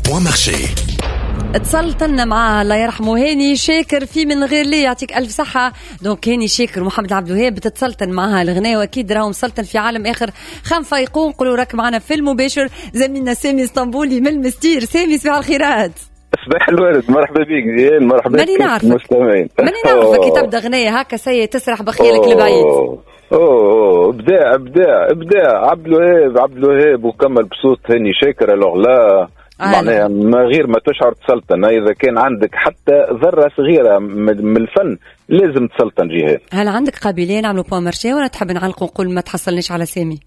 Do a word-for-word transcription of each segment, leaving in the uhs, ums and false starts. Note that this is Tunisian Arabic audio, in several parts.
Point marché. تسلطنا مع الله يرحمه هاني شاكر في من غير لي، يعطيك الف صحه. donc هاني شاكر ومحمد عبد الوهاب تتسلطن معها الغناء، واكيد راهم مسلطن في عالم اخر. خم فايقون نقولوا راك معنا في المباشر زميلنا سامي اسطنبولي من المستير. سامي صباح الخيرات. صباح الورد، مرحبا بك زين، مرحبا بك المستمعين. ماني نعرفك كي تبدا غنايه هكا سي تسرح بخيالك لبعيد. اوه اوه ابداع ابداع ابداع عبد الوهاب، عبد الوهاب وكمل بصوت هاني شاكر. alors là معناها ما غير ما تشعر تسلطن، اذا كان عندك حتى ذره صغيرة من الفن لازم تسلطن جهاد. هل عندك قابلية نعملوا point marché ولا تحب نعلقوا نقول ما تحصلنيش على سامي؟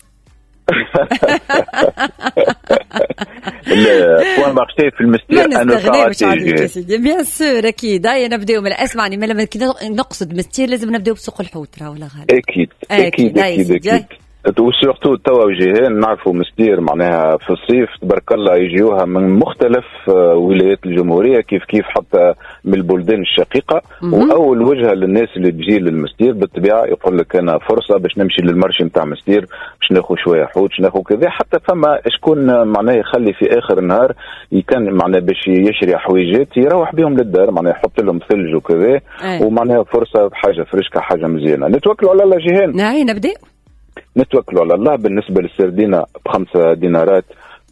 point marché في المستير انا نستغناوش عليك يا سيدي، bien sûr اكيد. هيا نبداو من اسمعني، ما نقصد مستير لازم نبداو بسوق الحوت راه ولا غالي؟ اكيد اكيد اكيد اكيد و surtout توا جيهان نعرفوا مستير معناها في الصيف تبارك الله يجيوها من مختلف ولايات الجمهورية، كيف كيف حتى من البلدان الشقيقة. واول وجهه للناس اللي تجي للمستير بالطبيعة يقول لك انا فرصة باش نمشي لل marché نتاع مستير باش ناخذ شوية حوت، باش ناخذ كذا. حتى فما شكون معناها يخلي في اخر النهار كان معناها باش يشري حويجات يروح بهم للدار، معناها يحط لهم ثلج وكذا، ومعناها فرصة بحاجة فريشكه حاجة مزيانه. نتوكلوا على الله جيهان. نعم نبدا نتوكلوا على الله. بالنسبة للسردينه بخمسة دينارات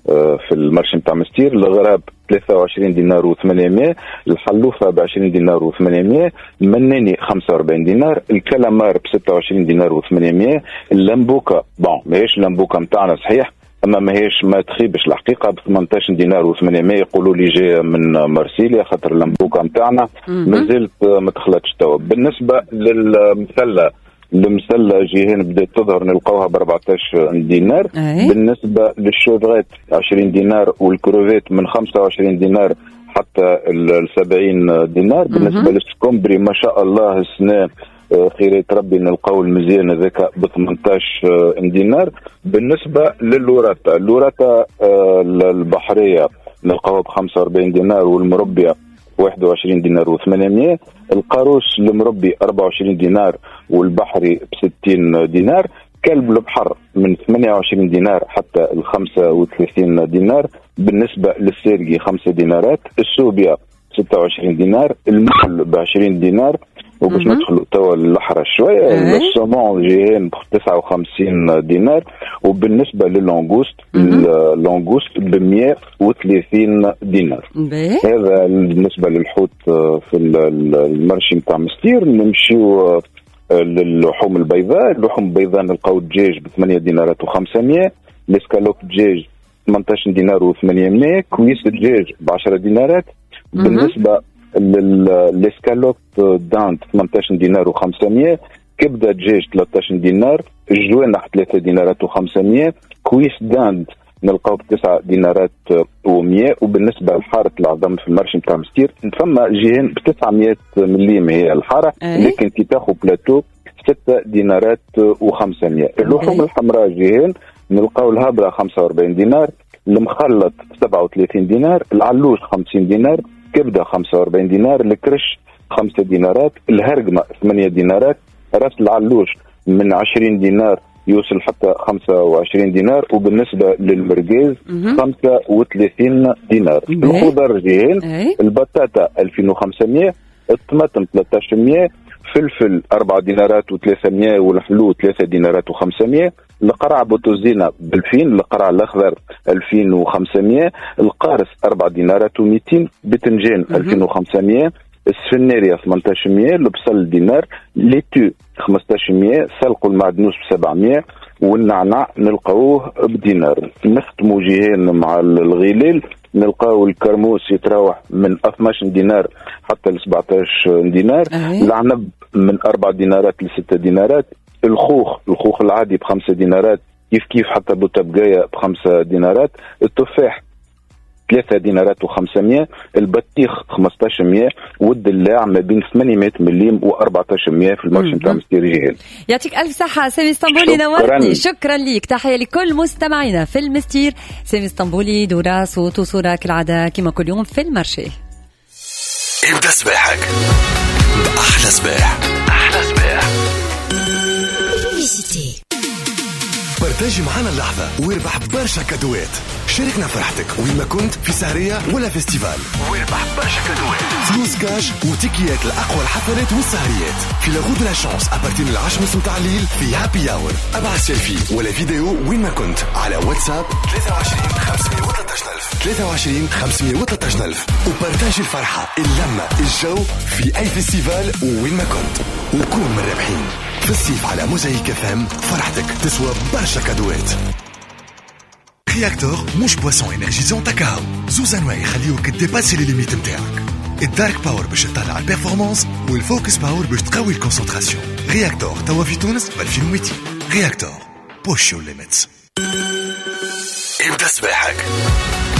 في ال marché نتاع مستير، الغراب ثلاثة وعشرين دينار وثمانمائة، الحلوفه ب عشرين دينار وثمانمائة، المناني خمسة وأربعين دينار، الكلامار ب ستة وعشرين دينار وثمانمائة، اللمبوكه bon ماهيش اللمبوكه نتاعنا صحيح اما ماهيش ما تخيبش الحقيقة ب ثمنطاش دينار وثمانمائة، يقولوا لي جاية من مرسيليا خاطر اللمبوكه نتاعنا مازالت ما تخلطش توا. بالنسبة للمثله، المسله جيهان بدات تظهر نلقاوها ب أربعطاش دينار. أي. بالنسبة لل chevrette عشرين دينار، والكروفيت من خمسة وعشرين دينار حتى ال سبعين دينار. بالنسبة لل scombrie ما شاء الله السنة خيرات ربي نلقاو المزيان هذاك ب ثمنطاش دينار. بالنسبة لل dorade، ال dorade البحرية نلقاوها ب خمسة وأربعين دينار، والمربيه واحد وعشرين دينار وثمانمائة، القاروس المربي أربعة وعشرين دينار والبحري ب ستين دينار، كلب البحر من ثمانية وعشرين دينار حتى ال خمسة وثلاثين دينار. بالنسبة للسيرجي خمسة دينارات، السوبيا ستة وعشرين دينار، المحل ب عشرين دينار. وباش ندخلوا توا للحرة شوية، ال saumon جيهان ب تسعة وخمسين دينار، وبالنسبة لل langouste ال langouste ب مئة وثلاثين دينار. هذا بالنسبة للحوت في ال marché نتاع مستير. نمشيو للحوم البيضاء، اللحوم البيضاء نلقاو الدجاج ب ثمانية دينارات وخمسمائة، الاسكالوب دجاج ثمنطاش دينار وثمانمائة، cuisse الدجاج ب عشرة دينارات. بالنسبة ل l'escalope dinde ثمنطاش دينار وخمسمائة، كبده دجاج ثلاثطاش دينار، الجوانح ثلاثة دينارات وخمسمائة، cuisse dinde نلقاو بتسعة دينارات ومية. وبالنسبة لحاره العظم في ال marché نتاع مستير فما جيهان ب تسعمائة مليم هي الحارة، لكن كي تاخذ بلاتو ستة دينارات وخمسمائة. اللحوم الحمراء جيهان نلقاو الهبره خمسة وأربعين دينار، المخلط سبعة وثلاثين دينار، العلوش خمسين دينار، كبده خمسة وأربعين دينار، الكرش خمسة دينارات، الهرقمه ثمانية دينارات، راس العلوش من عشرين دينار يوصل حتى خمسة وعشرين دينار، وبالنسبة للمرقاز خمسة وثلاثين دينار. الخضر جيهان البطاطا ألفين وخمسمائة، الطماطم ثلاثطاش مية، فلفل أربعة دينارات وثلاثمائة، والحلو ثلاثة دينارات وخمسمائة، القرع بوتوزينا بألفين، القرع الأخضر ألفين وخمسمائة، القارص أربعة دينارات ومئتين، بتنجان ألفين وخمسمائة، السفناريا ثمنطاش مية، البصل دينار، laitue خمسطاش مية، سلق المعدنوس ب سبعمية، والنعناع نلقاوه بدينار. نختموا جيهان مع الغلال، نلقاو الكرموس يتراوح من اثناش دينار حتى ل سبعطاش دينار، العنب من أربعة دينارات ل ستة دينارات، الخوخ الخوخ العادي بخمسة دينارات، كيف كيف حتى بوتبقاية بخمسة دينارات، التفاح ثلاثة دينارات وخمسمية، البطيخ خمسطاش مية، والدلاع ما بين ثمانمية مليم و أربعطاش مية في ال marché نتاع مستير جهال. يعطيك ألف صحة سامي اسطنبولي، نورتني، شكرا ليك. تحية لكل مستمعينا في المستير. سامي اسطنبولي دورا صوت وصورة كالعادة كما كل يوم في ال marché. ابدأ صباحك بأحلى صباح. أحلى صباح. partager معنا اللحظة واربح برشا cadeau ات. شاركنا فرحتك وين ما كنت، في سهرية ولا festival، واربح برشا cadeau ات، فلوس كاش وتيكيات لأقوى الحفلات والسهريات في la roue de la chance à partir من العشرة ونص متاع الليل في happy hour. ابعث سيلفي ولا فيديو وين ما كنت على واتساب ثلاثة وعشرين خمسمية وثلاثطاش ألف، ثلاثة وعشرين خمسمية وثلاثطاش ألف، و partager الفرحة، اللمة، الجو في أي festival وين ما كنت، وكون من الرابحين في الصيف على موزايك اف ام. فرحتك تسوى برشا cadeau ات. Réacteur مش boisson énergisante كهو، زوز انواع يخليوك dépasser les limites نتاعك: ال Dark Power باش تطلع ال performance، وال Focus Power باش تقوي ال concentration. Réacteur توا في تونس ب ألفين ومئتين. Réacteur، push your limits. ابدا صباحك.